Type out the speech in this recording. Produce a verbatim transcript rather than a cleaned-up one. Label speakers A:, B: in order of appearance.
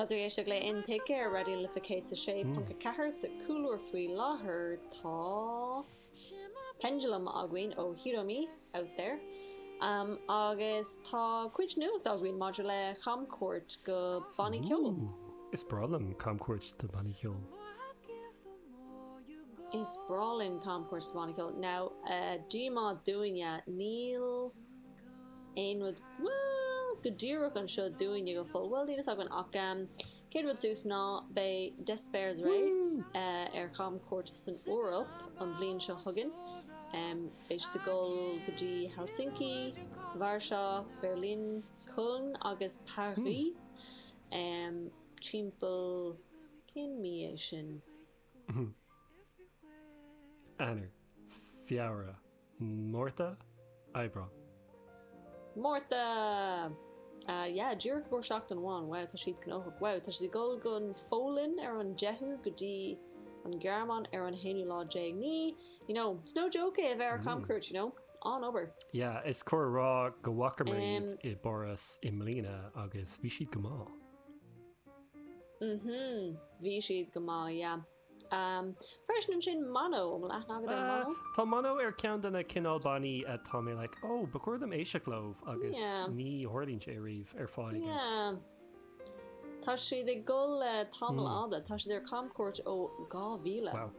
A: Tá tú ag éisteacht le Intuigthe ar Raidió na Life céad a sé ponc a ceathair sa chúlra faoi láthair tá Pendulum againn ó Hiromi out there. Um, agus tá cuid nuacht againn maidir le camchuairt go bannaí ceoil.
B: Is breá liom camchuairt do bannaí ceoil.
A: Is breá linn camchuairt do bannaí ceoil. Now uh, díomá dúinne níl aon rud well go díreach anseo dúinne go fóill well níl againn ach um, céad rud suas ná beidh D'espairsRay uh, ar chamchuairt san Eoraip an bhliain seo chugainn. Um, beidh siad ag dul go dtí Helsinki, Varsá, Berlin, Köln agus Paris. Um, timpeall cén mí é sin.
B: Eanáir, Feabhra, Márta, Aibreán.
A: Márta! Uh, yeah, díreach go seachtain amháin wow, tá siad gnóthach wow, tá siad ag dul gon Pholainn ar an deichiú go dtí an Ghearmáin ar an haonú lá déag ní you know, it's no joke é a bheith ar camchuairt, you know, an obair.
B: Yeah, is cóir a rá go bhfacamar
A: Um,
B: iad i bPáras i mbliana agus bhí siad go maith.
A: Mhm, bhí siad go maith, yeah. Um, freisin ansin Mono an bhfuil aithne agat ar
B: Uh,
A: Mono?
B: Tá Mono ar ceann de na cineál bannaí atá mé like, oh, ba chóir dom éisteacht leo agus
A: Yeah.
B: ní tharlaíonn sé riamh ar fáil.
A: Yeah. Tá siad ag dul le tamall fada, tá siad ar camchuairt ó dhá mhíle.
B: Wow.